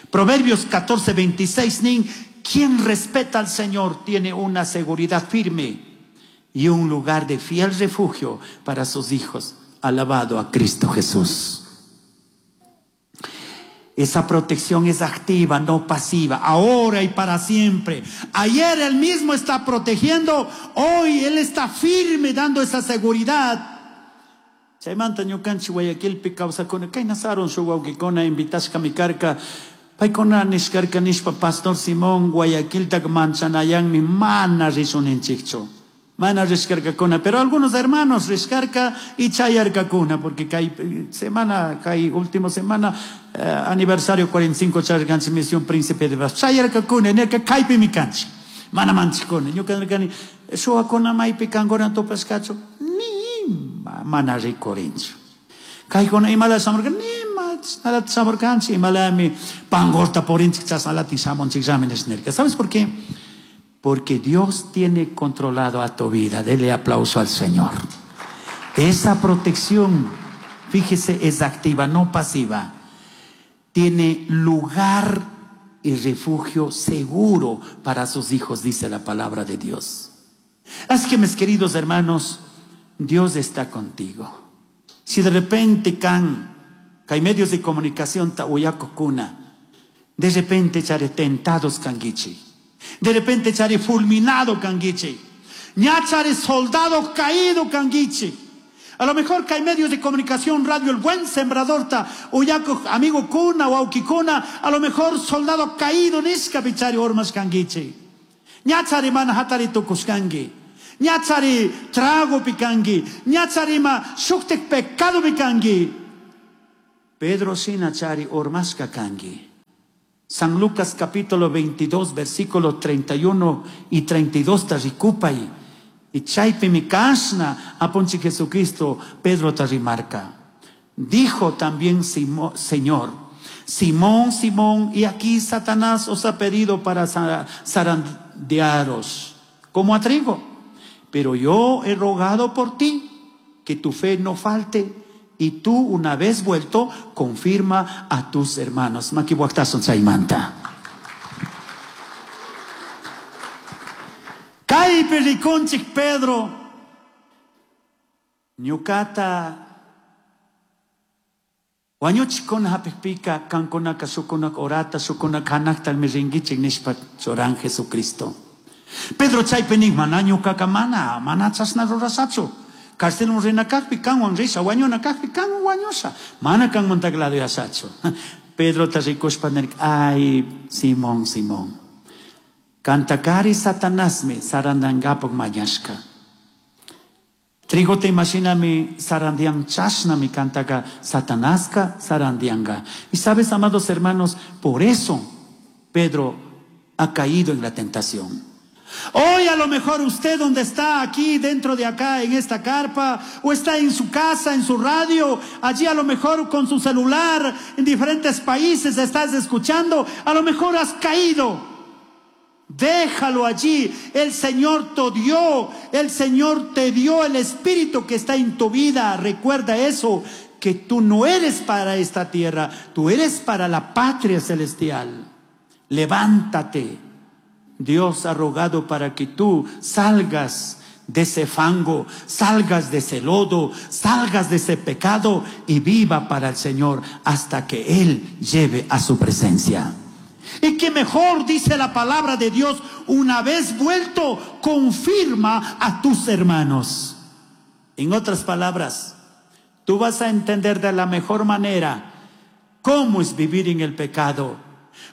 Proverbios 14, 26, nin, quien respeta al Señor tiene una seguridad firme y un lugar de fiel refugio para sus hijos. Alabado a Cristo Jesús. Esa protección es activa, no pasiva, ahora y para siempre. Ayer Él mismo está protegiendo, hoy Él está firme dando esa seguridad. Chaymanta ñukanchik Guayaquilpi kawsakuna, kay nasaron shuk wawqikuna invitashka mi karka, paykuna nishkarka nishpa Pastor Simón Guayaquilta manchanayanmi mana risuninchikchu. Mana rishkarkakuna, pero algunos hermanos rishkarka y chayarkakuna, porque kay semana, kay última semana, aniversario 45 charkanchi misión Príncipe de Paz. Chayarkakuna, nerka kaypi mi kanchi. Mana manchikuna. Ñuka nirkani, shuwakuna maypi kankuna tupashkachu, ni mana rikurinchu. Kaykuna imala shamurka, ni ma nada shamurkanchi, imalami pangorta porinchik chasnalatin shamunchik llami nirka. ¿Sabes por qué? Porque Dios tiene controlado a tu vida. Dele aplauso al Señor. Esa protección, fíjese, es activa, no pasiva. Tiene lugar y refugio seguro para sus hijos, dice la palabra de Dios. Así que, mis queridos hermanos, Dios está contigo. Si de repente can, que hay medios de comunicación ta uyakokuna, de repente echaré tentados kangichi. De repente echaré fulminado kangichi. Ñachare soldado caído kangichi. A lo mejor que hay medios de comunicación, radio, el buen sembrador, ta, uyaco, amigo kuna, wauki kuna, a lo mejor soldado caído nishka pichari ormas kanguichi. Ñachari mana hatari tukushkangi. Ñachari trago pikangi. Ñachari ma shuktek pecado pikangi. Pedro shina chari ormashka kangi. San Lucas capítulo 22, versículo 31 y 32 ta ricupay. Y chaypi mi kashna apunchi Jesucristo Pedro ta rimarca. Dijo también Señor, Simón, Simón, y aquí Satanás os ha pedido para zarandearos como a trigo. Pero yo he rogado por ti que tu fe no falte, y tú, una vez vuelto, confirma a tus hermanos. Makiwaktasun chaymanta. Kaypi rikunchik Pedro, ñukata wañuchikuna hapikpika kankunaka shukunaka orata shukunaka hanakta mi rinkichik nishpa churan Jesucristo. Pedro chaypi nin, mana ñukaka mana, mana chashna rurashachu. Carcelman rina kajpi kanwan risha, wañuna kajpi kanwan wañusha. Mana kanmantaka laduyashachu. Pedro ta rikushpa nirka, ay, Simón, Simón. Kantakari Satanasmi sarandangapak mañashka. Trigote imaginami sarandian chashnami kantaka Satanaska sarandianga. Y sabes, amados hermanos, por eso Pedro ha caído en la tentación. Hoy a lo mejor usted donde está aquí dentro de acá en esta carpa, o está en su casa, en su radio, allí a lo mejor con su celular, en diferentes países estás escuchando, a lo mejor has caído. Déjalo allí. El Señor te dio, el Señor te dio el Espíritu que está en tu vida. Recuerda eso, que tú no eres para esta tierra, tú eres para la patria celestial. Levántate. Dios ha rogado para que tú salgas de ese fango, salgas de ese lodo, salgas de ese pecado y viva para el Señor hasta que Él lleve a su presencia. Y que mejor, dice la palabra de Dios, una vez vuelto, confirma a tus hermanos. En otras palabras, tú vas a entender de la mejor manera cómo es vivir en el pecado,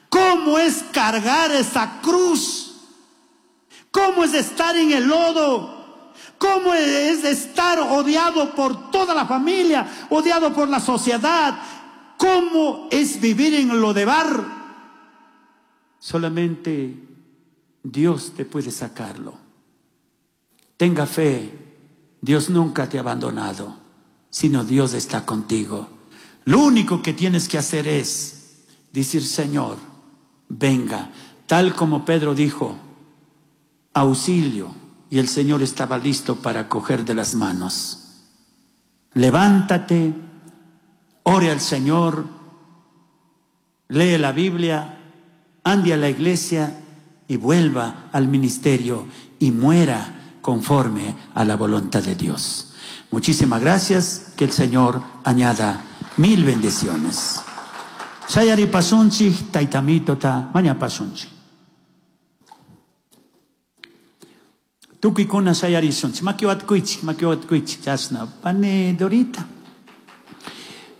cómo es cargar esa cruz, cómo es estar en el lodo, cómo es estar odiado por toda la familia, odiado por la sociedad, cómo es vivir en Lodebar. Solamente Dios te puede sacarlo. Tenga fe, Dios nunca te ha abandonado, sino Dios está contigo. Lo único que tienes que hacer es decir, Señor, venga, tal como Pedro dijo, auxilio, y el Señor estaba listo para coger de las manos. Levántate, ore al Señor, lee la Biblia, ande a la iglesia y vuelva al ministerio y muera conforme a la voluntad de Dios. Muchísimas gracias, que el Señor añada 1000 bendiciones. Sayari pasunchi, taitamito ta, maña pasunchi. Tukikuna sayari sunchi, makiwat kuichi, makiwat kuichi, chasna, pane dorita.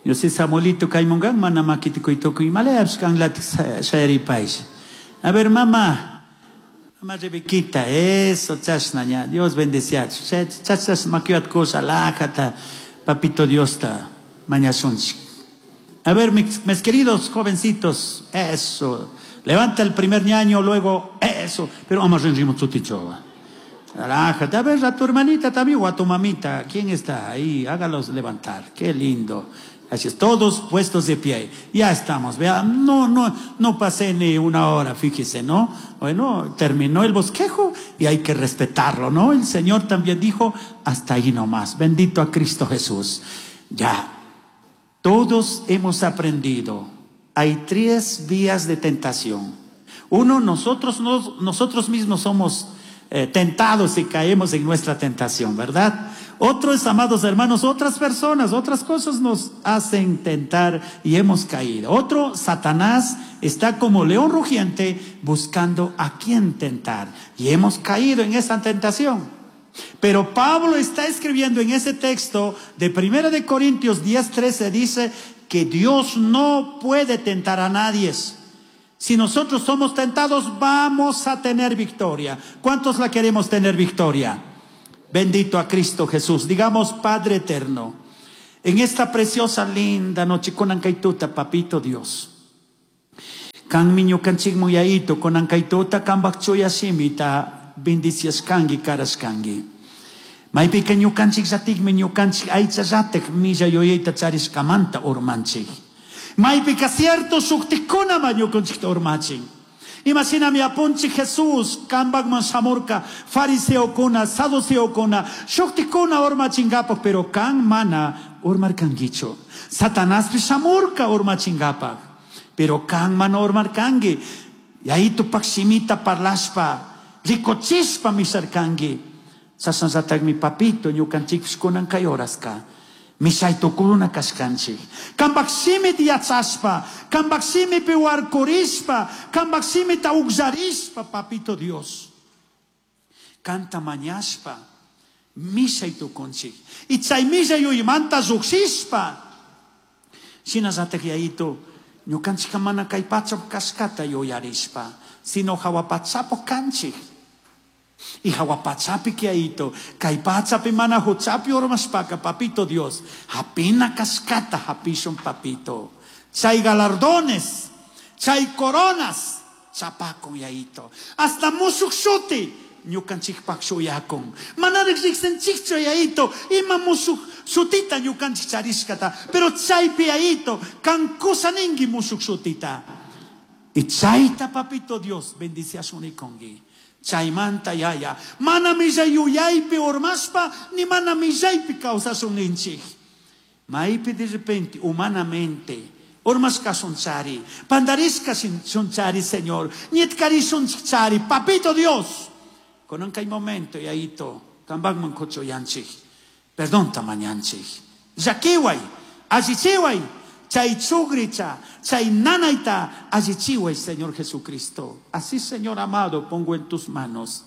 Yo sé Samuelito kaimungan, mana makiti kuitoku, imalaya kan lati sayari pais. A ver, mamá, mamá Rebequita, eso, chasna, ña, Dios bendecía. Chasnas makiwat cosa, lajata, papito Dios ta, maña sunchi. A ver, mis queridos jovencitos, eso. Levanta el primer ñaño, luego eso. Pero vamos a ritmo chutichoa. Relájate. A ver, a tu hermanita también o a tu mamita. ¿Quién está ahí? Hágalos levantar. Qué lindo. Así es, todos puestos de pie. Ya estamos. Vea, no, no, no pasé ni una hora, fíjese, ¿no? Bueno, terminó el bosquejo y hay que respetarlo, ¿no? El Señor también dijo, hasta ahí nomás. Bendito a Cristo Jesús. Ya. Todos hemos aprendido. Hay 3 vías de tentación. Uno, nosotros mismos somos tentados y caemos en nuestra tentación, ¿verdad? Otros, amados hermanos, otras personas, otras cosas nos hacen tentar y hemos caído. Otro, Satanás está como león rugiente buscando a quien tentar y hemos caído en esa tentación. Pero Pablo está escribiendo en ese texto de 1 de Corintios 10:13 dice que Dios no puede tentar a nadie. Si nosotros somos tentados, vamos a tener victoria. ¿Cuántos la queremos tener victoria? Bendito a Cristo Jesús. Digamos, Padre eterno, en esta preciosa, linda noche, con ancaituta, papito Dios. Kan ñukanchikmu yaito, con ancaituta, kambak chuya shimita, bendiciaskangi, karaskangi. Maypika ñukanchik llatikmi ñukanchik aychallatik milla yuyayta charishkamanta urmanchik. Maypika cierto shuktikunama ñukanchikta urmachin. Imashinami apunchik Jesús kambakman shamurka fariseokuna, saduceokuna, shuktikuna urmachinkapak, pero kan mana urmarkankichu. Satanaspish shamurka urmachinkapak, pero kan mana urmarkanki. Yayitupak shimita parlashpa, rikuchishpa misharkanki. Chashnallatagmi papito ñukanchikpish kunan kay horaska mishaytukuna kashkanchik. Kampak shimita yachashpa, kampak shimipi warkurishpa, kampak shimita ukllarishpa, papito Dios. Kanta mañashpa, mishaytukunchik. Y chay mishay yuymanta llukshishpa. Shinallatak yayito, ñukanchikka mana kay pachapi kashkata yuyarishpa, sino hawa pachapi kanchik. Y hawa pachapi yayito, kay pachapi mana huchapi urmashpaka, papito Dios, hapina kashkata hapishun papito. Chay galardones, chay coronas, chapakun yayito. Hasta mushuk shuti, ñukanchikpak shuyakun. Manarik riksinchikchu yayito, ima mushuk shutita ñukanchik charishkata, pero chaypi yayito, kan kusaningi mushuk shutita. Y chayta papito Dios, bendiciashunikunki. Chaymanta yaya, mana millay yuyaypi urmashpa, ni mana millaypi kawsashun ninchik. Maypi de repente, humanamente, urmashkashunchari, pandarishkashunchari, Señor, ñitkarishunchari, papito Dios. Con kay momento, yayito, kambakman kuchuyanchik, perdón tamañanchik. Llakiway, allichiway, chay chugricha, chay nanayta, allichiway, Señor Jesucristo. Así, Señor amado, pongo en tus manos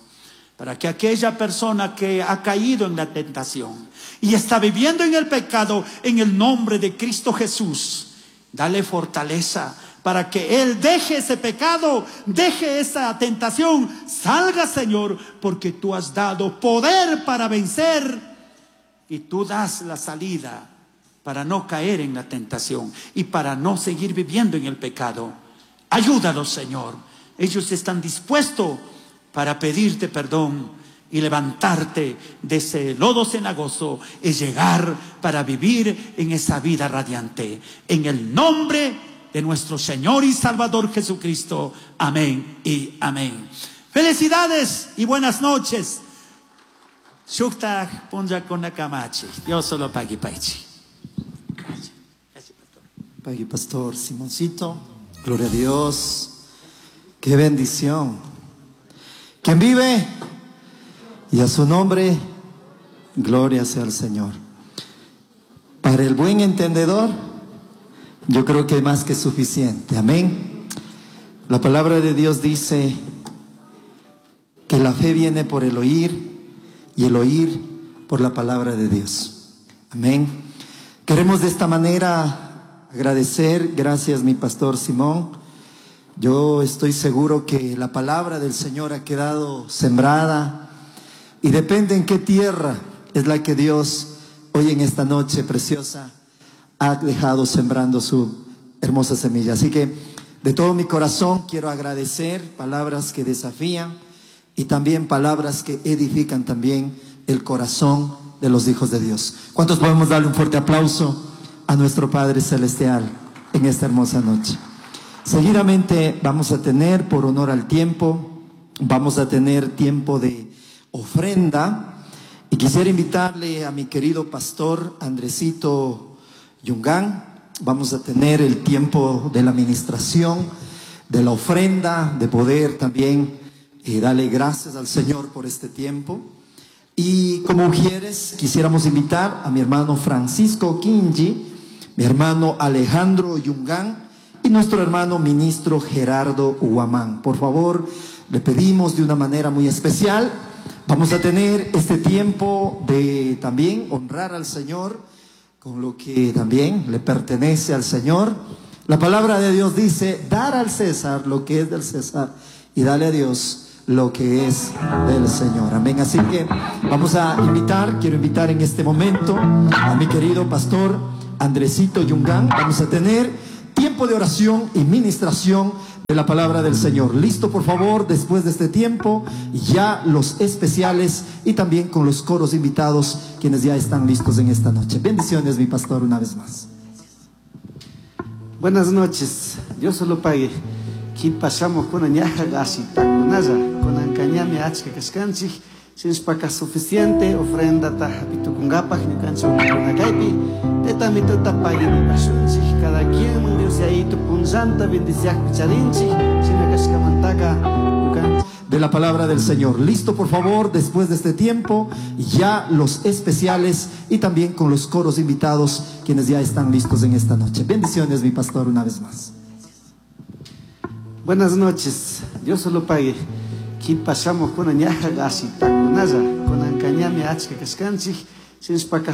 para que aquella persona que ha caído en la tentación y está viviendo en el pecado, en el nombre de Cristo Jesús, dale fortaleza para que él deje ese pecado, deje esa tentación, salga, Señor, porque tú has dado poder para vencer y tú das la salida para no caer en la tentación y para no seguir viviendo en el pecado. Ayúdalos, Señor. Ellos están dispuestos para pedirte perdón y levantarte de ese lodo cenagoso y llegar para vivir en esa vida radiante. En el nombre de nuestro Señor y Salvador Jesucristo. Amén y amén. Felicidades y buenas noches. Shuktaj punlla kunakamachi. Dios solo pagui paichi. Pagui Pastor Simoncito. Gloria a Dios. Qué bendición. ¿Quién vive? Y a su nombre, gloria sea al Señor. Para el buen entendedor, yo creo que hay más que suficiente. Amén. La palabra de Dios dice que la fe viene por el oír y el oír por la palabra de Dios. Amén. Queremos de esta manera agradecer. Gracias, mi pastor Simón. Yo estoy seguro que la palabra del Señor ha quedado sembrada y depende en qué tierra es la que Dios hoy en esta noche preciosa ha dejado sembrando su hermosa semilla. Así que de todo mi corazón quiero agradecer palabras que desafían y también palabras que edifican también el corazón de los hijos de Dios. ¿Cuántos podemos darle un fuerte aplauso a nuestro Padre Celestial en esta hermosa noche? Seguidamente vamos a tener, por honor al tiempo, vamos a tener tiempo de ofrenda. Y quisiera invitarle a mi querido pastor Andresito Yungán. Vamos a tener el tiempo de la administración, de la ofrenda, de poder también darle gracias al Señor por este tiempo. Y como ujieres, quisiéramos invitar a mi hermano Francisco Quinji, mi hermano Alejandro Yungán y nuestro hermano ministro Gerardo Huamán. Por favor, le pedimos de una manera muy especial Vamos a tener este tiempo de también honrar al Señor con lo que también le pertenece al Señor. La palabra de Dios dice, dar al César lo que es del César y dale a Dios lo que es del Señor. Amén. Así que vamos a invitar, quiero invitar en este momento a mi querido pastor Andresito Yungán. Vamos a tener tiempo de oración y ministración de la palabra del Señor. Listo, por favor, después de este tiempo, ya los especiales y también con los coros invitados, quienes ya están listos en esta noche. Bendiciones, mi pastor, una vez más. Buenas noches, Dios solo pague. Pasamos con ñaja gasitakunalla, con ancañami achka kashkanchik, sinspaka suficiente ofrenda ta hapitukunkapaj ñukanchik kaypi, tetamituta paginipashunchik, cada quien Dios yayito punllanta bendiciakpi charinchik, shina kashkamantaka ñukanchik. De la palabra del Señor. Listo, por favor, después de este tiempo, ya los especiales y también con los coros invitados, quienes ya están listos en esta noche. Bendiciones, mi pastor, una vez más. Buenas noches, Dios solo pague. Pasamos con ñaja gasitakunalla, con ancañami achka kashkanchik, sinspaka.